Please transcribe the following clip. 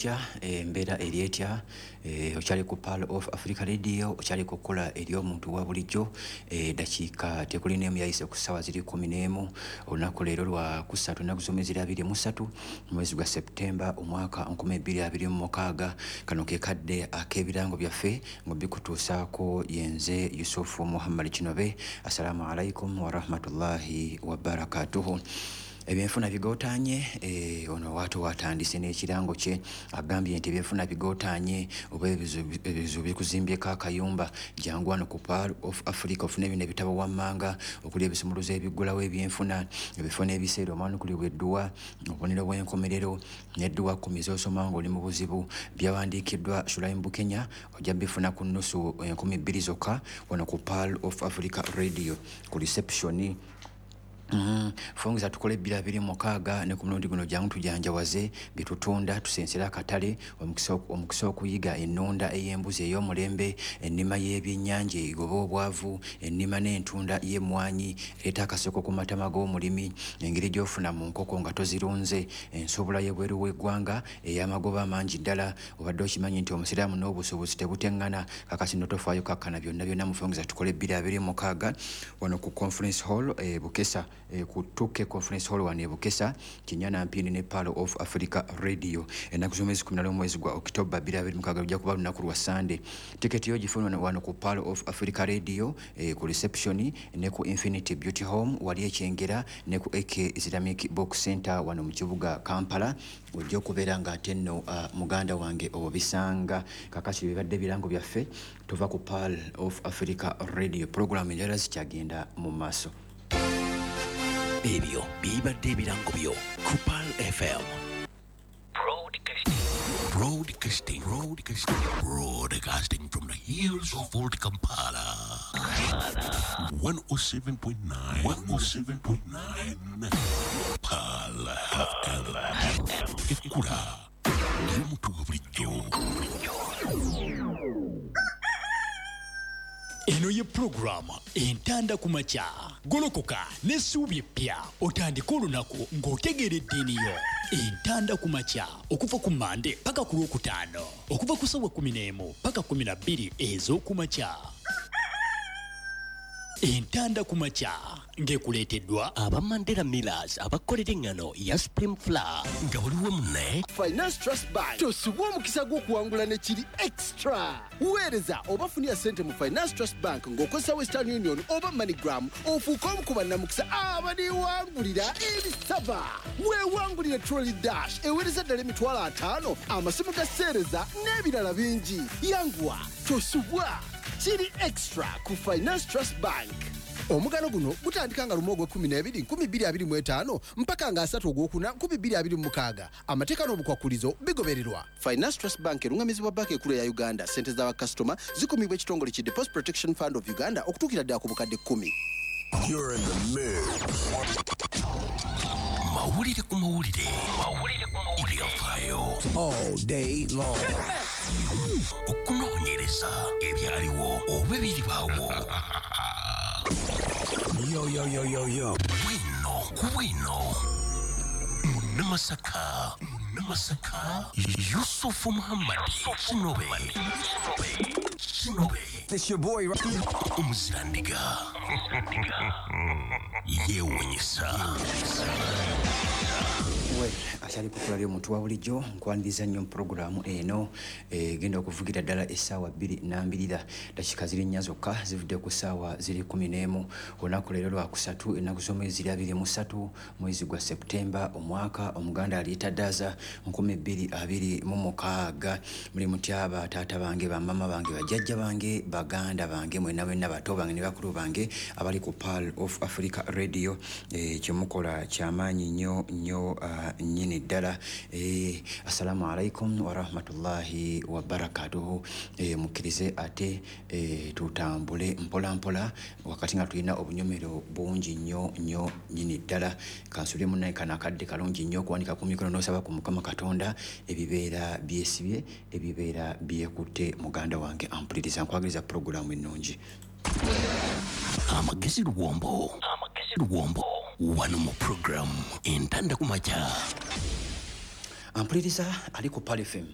Etya embeera eri etya? Okyali ku Pearl of Africa Radio, okyali ku kkola ery'omuntu wa bulijjo. Dakiika tekuli n'emu yayise ku ssaawa ziri 11. Olunaku leero lwa kusatu, ennaku z'omwezi ziri 23, mwezi gwa Septemba, omwaka 2026. Kano ke kadde ak'ebirango byaffe nga bikutuusaako yenze Yusufu Muhammad Kinobe. Assalamu alaikum warahmatullahi wabarakatuhu. Ebyenfuna bigotaanye. Ono waatu watandise n'ekirango kye, agambye nti ebyenfuna bigotaanye oba ebizibu bikuzimbyeko akayumba, jangu wano ku Pearl of Africa ofune bino ebitabo wammanga okuli ebisumuluzo ebiggulawo ebyenfuna, ebifo n'ebiseera omwanukulibwa edduwa, obubonero bw'enkomerero n'edduwa 10 z'osoma ng'oli mu buzibu. Byawandiikiddwa Shulaim Bukenya, ojja bifuna ku nnusu 2000 zokka wano ku Pearl of Africa Radio ku reception. Fungiza tukole 2026 ne ku mulundi guno jangu tujanjawaze byetutunda, tusensere akatale, omukisa okuyiga ennunda ey'embuzi ey'omulembe, ennima y'ebyennyanja egoba obwavu, ennima n'entunda y'emmwanyi ereeta akaseko ku matama g'omulimi, engeri gy'ofuna mu nkoko nga tozirunze, ensobola y'ebweru w'eggwanga ey'amagoba amangi ddala. Obadde okimanyi nti omusiraamu n'obusuubuzi tebuteŋŋana? Kakasi nno tofaayo, kakkana byonna byonna mufungiza tukole 2026 wano ku Conference Hall e Bukesa, ku 2K Conference Hall wano e Bukesa, Kinyana Mpindi ne Pearl of Africa Radio. Ennaku z'omwezi 11 mwezi gwa Okitoba 2026, lujja kuba lunaku lwa Sande. Tiketi yo gifuna wano ku Pearl of Africa Radio, ku reception ne ku Infinity Beauty Home wali Ekyengera ne ku AK Islamic Book Center wano mu kibuga Kampala. Ojja okubeera ng'ate nno muganda wange obisanga. Kakati bibadde birango byaffe, tuva ku Pearl of Africa Radio, pulogulaamu endala zikyagenda mu maaso. Ebyo bibadde ebirango byo ku Pearl FM. Broadcasting, broadcasting, broadcasting from the hills of Old Kampala. 107.9, 107.9, Pearl FM. Ekkula ly'omuntu wa bulijjo. Eno ye pulogulaamu Entanda ku Makya. Golokoka n'essuubi eppya, otandike olunaku ng'otegeera eddiini yo. Entanda ku Makya okuva ku Mande paka ku Lwokutaano, okuva ku ssaawa 11 paka 12 ez'okumakya. Entanda ku Makya ng'ekuleeteddwa aba Mandela Millers abakolera eŋŋano ya Spring Flour nga buli wamu ne Finance Trust Bank. Tosubwa omukisa gw'okuwangula ne kiri extra. Weereza oba funira ssente mu Finance Trust Bank ng'okozesa Western Union oba MoneyGram, ofuuke omu ku bannamukisa abaliwangulira ebisaba. Weewangulire Trolley Dash eweereza ddala 50,000, amasimu ga seereza n'ebirala bingi. Yanguwa, tosubwa, kiri extra ku Finance Trust Bank. Omugano guno gutandika nga 1 ogw'ekkumi n'ebiri 2025 mpaka nga 3 ogwokuna 2026. Amateeka n'obukwakulizo bigobererwa. Finance Trust Bank erungamizibwa Banka Ekulu eya Uganda. Ssente z'abakasitoma zikumibwa ekitongole ki Deposit Protection Fund of Uganda okutuukira ddala ku bukadde 10. You're in the mix. Mawulire ku mawulire, ebyafaayo all day long. Okunoonyereza ebyaliwo oba ebiribaawo. Yo, yo, yo, yo, yo. Bwino ku bwino, Munnamasaka, Munnamasaka Yusufu Muhammad Kinobe, Kinobe. It's your boy. Omuzirandiga yeewunyisa. Well, akyali kukula ly'omuntu wa bulijjo, nkwaniriza nnyo mu pulogulaamu eno egenda okuvugira ddala essaawa bbiri nambirira. Dakika ziri 4 zokka zivudde ku ssaawa ziri 11. Olunaku leero lwakusatu, ennaku z'omwezi ziri 23, mwezi gwa Septemba, omwaka omuganda aliyita ddaza 2026. Muli mutya bataata bange, bamama bange, bajjajja bange, baganda bange, mwenna mwenna, bato bange ne bakulu bange abali ku Pearl of Africa Radio? Kyemukola kyamaanyi nnyo nnyo nnyini ddala. Assalamu alaikum warahmatullahi wabarakatuhu. Mukkirize ate tutambule mpola mpola wakati nga tulina obunyomero bungi nnyo nnyo nnyini ddala. Kansubire munnaye kano akadde kalungi nnyo okuwanika ku mikono n'osaba ku Mukama Katonda ebibeera byesibye, ebibeera byekutte. Muganda wange ampuliriza, nkwagaliza pulogulaamu ennungi. Amagezi luwombo, amagezi luwombo wano mu pulogulaamu Entanda ku Makya. Ampuliriza ali ku Pearl FM.